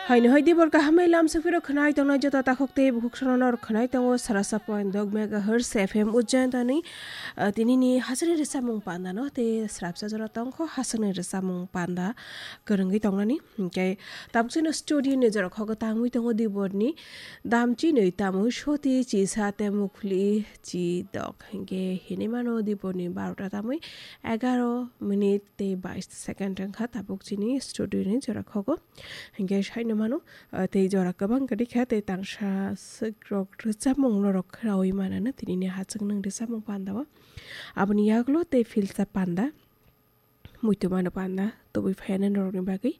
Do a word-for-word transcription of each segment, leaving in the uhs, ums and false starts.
Haino hai dibor kaham bai lam sokphiro khwnai tongnai joto takhuk tei bukhuk sono nor khwnai tongo sarasa point dok megahertz F M Ujjain tani, ah, tinini hasini rwchapmung panda no tei srapsa jora tongkho hasini rwchapmung panda kwrwngwi tongnani. Hinkhe tabuk chini studio ni jora khogo tangwi tongo diborni damchinwi tamwi soti chisa tei mukhli chidok. Hinkhe hinwi mano diborni barota tamwi egaro minute tei bais second wngkha tabuk chini studio ni jora khogo. Hinkhe saino mano, ah, tei jora kwbang kwrwi kha tei tangsa swk rok rwchapmung norok khwrawi manano tinini hachwk nwng rwchapmung pandao. Aboni yagulo tei philsa panda. Muitu mano panda tubui phaiya norokni bagwi.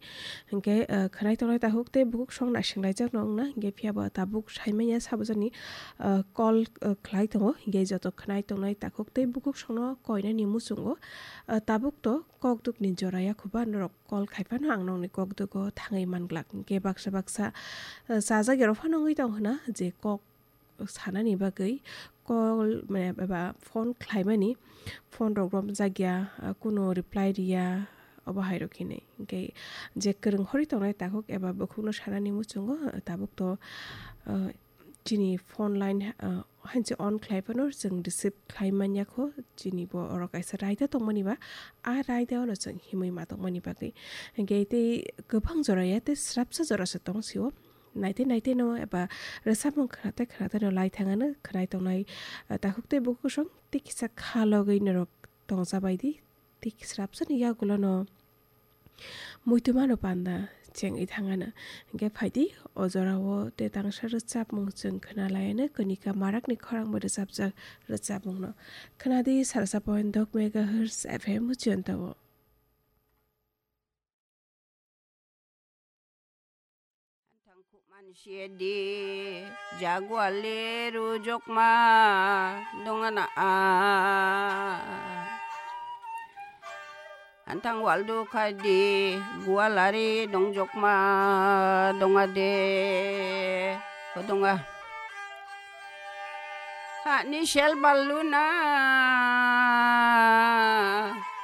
Hinkhe, ah, khwnai tongnai takhuk tei bukhuk song naisinglaijak no wngna. Hinkhe phiyaba tabuk saimanya sabajani, ah, call, ah, khlai tongo. Hinkhe joto khwnai tongnai takhuk tei bukhuk songno koinani muchungo, ah, tabuk to kokdukni jora yakhuba norok call khai phano ang nokni kokdugo thangwi manglak. Hinkhe baksa baksa, ah, chajak yorok phano wngwi tong hwna je kok sanani bagwi call, mane, eba phone khlaimani, phone rok romjakya, ah, kuno reply riya, obo hai rok hinwi. Hinkhe je kwrwng horwi tongnai takhuk eba bukhukno sanani muchungo, ah, tabuk to, ah, chini phone line, ah, hanse on khlai phano chwng receive khlai manya kho, chini bo oro kaisa raida tongmani ba, a raida ono chwng himwi ma tongmani bagwi. Hinkhe tei kwbang jora ya tei srapsa jora se tong sio. Naite naite no eba rwchapmung khwnatai khwnatai no lai thangano khwnai tongnai, ah, takhuk tei bukhuk song tei kisa kha logwi norok tongsa bai di tei srapsa ni yagulo no muitu mano panda chengwi thangano. Hinkhe phaidi o jora o tei tangsa rwchapmung chwng khwna laiano Kanika Marakni khorang bai rwchapjak rwchapmung no khwnadi sarsa point dok megahertz F M Ujjain o. Thangkhuk mansi di jagwali rujokma dongana a. Anthang waldu khai di gualari dongjokma donga de. Kodonga. Hani sel baluna,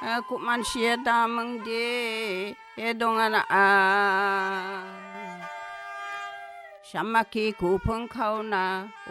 eh, kuman sia damang de, eh, dongana a. Samaki kupung khauna,